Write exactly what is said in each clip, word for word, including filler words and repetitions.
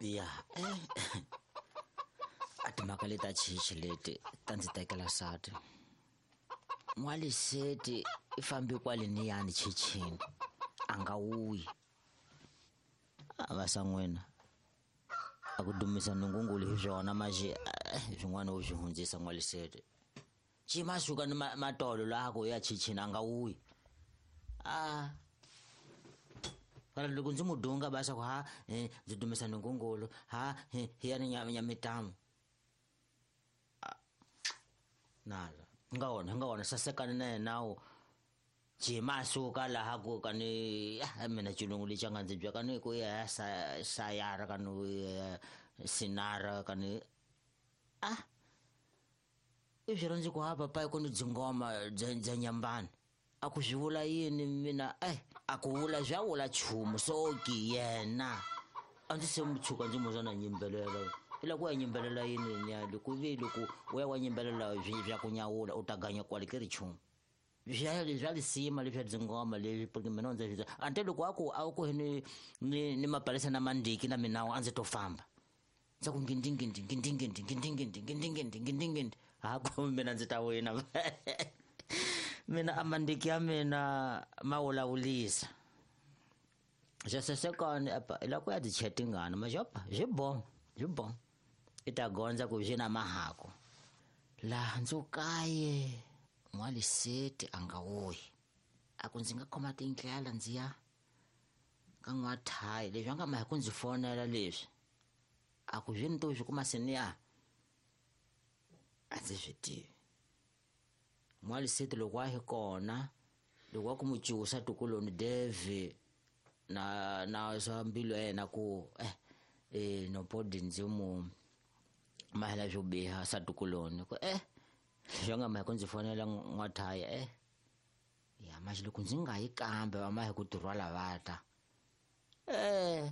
Ya eh a timhaka leti a chichi leti ta ndzi tekela sati. N'waliseti i fambi kwale niyani chichini a nga wuyi. A va san'wina a ku dumisa nungungulu hi swona maxe swin'wana u swi hundzisa n'waliseti. Xi suka ni matolo laha ku ya chichini a nga wuyi. A kana loko ndzi mu dunga ba swa ku ha ndzi dumisa nungungulu ha hi ya ni nyamitamu. Nala nga wona nga wona sasekani na yena wu jima suka laha ku ka ni mina xilungu lexi a nga ndzi bya ka ni ku ya sayara ka ni sinara ka ni a i swi rhandzi ku ha papa ku ni dzingoma bya bya nyambana a ku swi vula yini mina eh a ku vula swa vula nchumu so ki yena a ndzi se mu tshuka ndzi mu zwa na nyimbelela i la ku ya nyimbelela yini nya loko vi loko u ya wa nyimbelela swi swa ku nyawula u ta ganya kwale ke ri nchumu swa swa lisima leswi dzingoma leswi porque mina ndzi swi ante loko a ku a ku ni ni ni mapalesa na mandiki na minawu a ndzi to famba ndza ku ngindingindi ngindingindi ngindingindi ngindingindi ngindingindi ha ku mina ndzi ta wina mina a mandiki ya mina ma vulavulisa swa sasekani apa i la ku ya ti chetingana maxopa swi bo swi bo i ta gondza ku swi na mahako laha ndzi kaye n'waliseti a nga wuyi a ku ndzi nga khoma tindlela ndzi ya ka n'wathayi leswi a nga ma hi ku ndzi fonela leswi a ku swi ni to swi kuma seniya a ndzi swi tivi. N'waliseti loko a hi kona loko a ku mu cusa tukuloni Devi na na swa mbilu ya yena ku eh eh no podi ndzi mu mahela swo biha sa tukuloni ku eh swi nga ma hi ku ndzi fonela n'wathayi eh ya maxi loko ndzi nga yi kambe va ma hi ku tirhwala va ta eh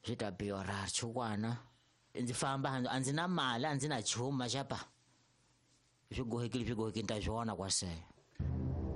swi ta biora chukwana ndzi famba a ndzi na mali a ndzi na nchumu maxapa swi gohekile swi gohekile ni ta swi vona kwasele.